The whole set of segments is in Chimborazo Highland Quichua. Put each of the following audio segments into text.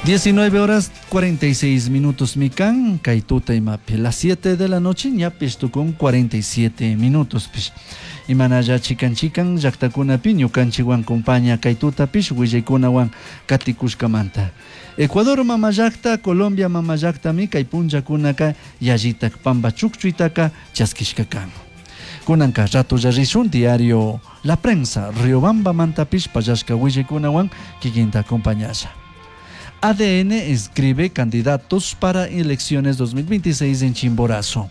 19 horas 46 minutos mikan, kay tuta imapi, las 7 de la noche ñapish tukun 47 minutos pish. Imanalla chikan chikan llaktakunapi ñukanchikwan compaña kay tutapish willaykunawan katikushkamanta. Ecuador mama llakta, Colombia mama llaktami kay punllakunaka yallitak pampa chukchuytaka chaskishka kan. Kunanka ratolla rishun diario La Prensa, Riobamba mantapish pallashka willaykunawan kikinta acompañasha. ADN inscribe candidatos para elecciones 2026 en Chimborazo.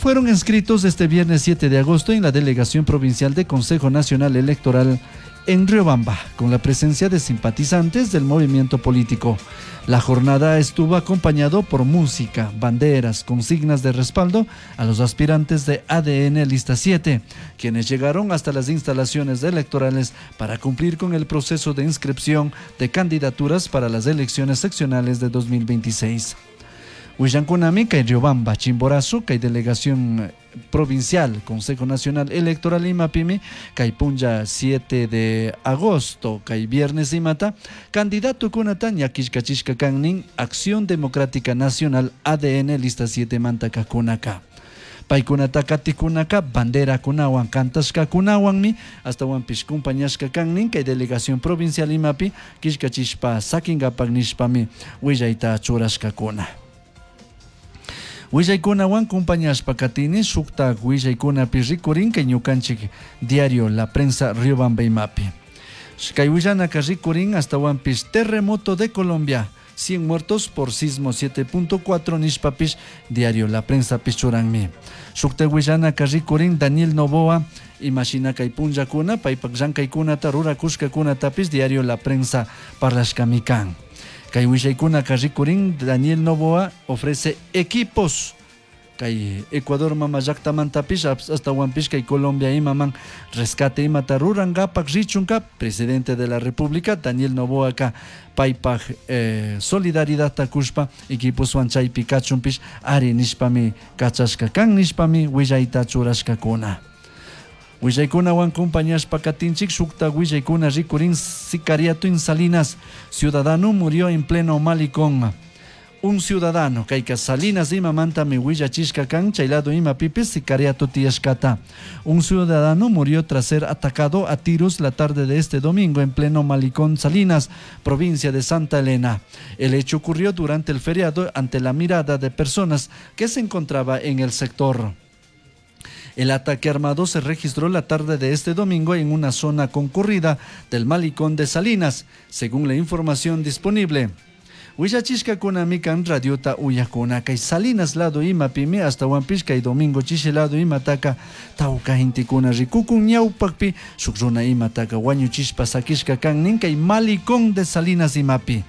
Fueron inscritos este viernes 7 de agosto en la Delegación Provincial de Consejo Nacional Electoral en Riobamba, con la presencia de simpatizantes del movimiento político. La jornada estuvo acompañado por música, banderas, consignas de respaldo a los aspirantes de ADN Lista 7, quienes llegaron hasta las instalaciones electorales para cumplir con el proceso de inscripción de candidaturas para las elecciones seccionales de 2026. Willankunami kay Riobamba, Chimborazo, kay delegación provincial, Consejo Nacional Electoral imapimi, kay punlla 7 de agosto, kay viernes imata, candidato kunata ñakishkachishka kannin Acción Democrática Nacional ADN lista 7 mantaka kunaka. Paykunata katikunaka banderakunawan kantashkakunawanmi ashtawanpish compañashka kannin kay delegación provincial imapi killkachishpa sakinkapak nishpami willayta churashkakuna. Willaykunawan compañashpa katini shuktak willaykunapi rikurin kay ñukanchik diario La Prensa Riobamba imapi. Kay willanaka rikurin ashtawanpish terremoto de Colombia, 100 muertos por sismo 7.4 nishpapish diario La Prensa churanmi. Shuktak willanaka rikurin Daniel Noboa imashina kay punllakuna paypak llankaykunata rurakushkakunatapish diario La Prensa parlashkami kan. Kay willaykunaka rikurin Daniel Noboa ofrece equipos kay Ecuador mama llaktamantapish ashtawanpish kay Colombia imaman rescate imata rurankapak richunka presidente de la República Daniel Noboaka paypak solidaridadta kushpa equiposwan chaypi kachunpish ari nishpami kachashka kan nishpami willayta churashkakuna. Willaykunawan compañashpa katinchik shukta willaykuna rikurin sicariato en Salinas, ciudadano murió en pleno malecón. Un ciudadano kayka Salinas imamantami willachishka kan chay lado imapipis sicariato tiyashkata. Un ciudadano murió tras ser atacado a tiros la tarde de este domingo en pleno malecón Salinas, provincia de Santa Elena. El hecho ocurrió durante el feriado ante la mirada de personas que se encontraba en el sector. El ataque armado se registró la tarde de este domingo en una zona concurrida del malecón de Salinas, según la información disponible. Willachishkakunami kan radiota uyakuna kay Salinas lado imapimi ashtawanpish kay domingo chishi lado imataka tawka gentekuna rikukun ñawpakpi shuk runa imataka wañuchishpa sakishka kan nin kay malecón de Salinas imapi.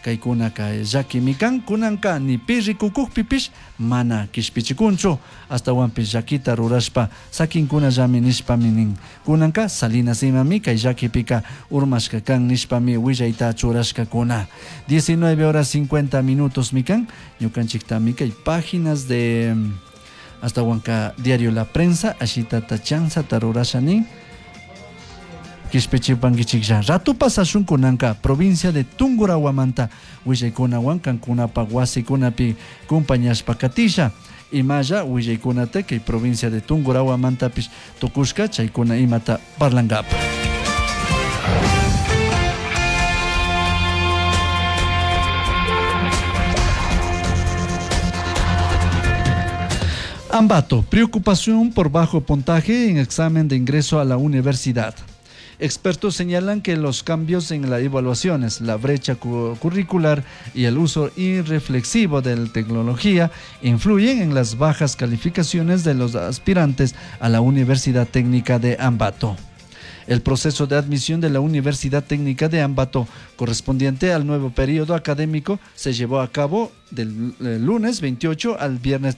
Kaykunaka llakimi kan kunanka ni pi rikukukpipish mana kishpichikunchu ashtawanpish llakita rurashpa sakinkunallami nishpami nin. Kunanka Salinas imami kay llakipika urmashka kan nishpami willayta churashkakuna. 19 horas 50 minutos mikan ñukanchiktami kay páginas de ashtawanka diario La Prensa ashitata chanzata rurasha nin. Kishpichipankichiklla ratu pasashun kunanka provincia de Tungurahua willaykunawan kankunapak wasikunapi compañashpa katisha imalla willaykunata kay provincia de Tungurahuamantapish tukushka chaykuna imata parlankapa. Ambato, preocupación por bajo puntaje en examen de ingreso a la universidad. Expertos señalan que los cambios en las evaluaciones, la brecha curricular y el uso irreflexivo de la tecnología influyen en las bajas calificaciones de los aspirantes a la Universidad Técnica de Ambato. El proceso de admisión de la Universidad Técnica de Ambato, correspondiente al nuevo periodo académico, se llevó a cabo del lunes 28 al viernes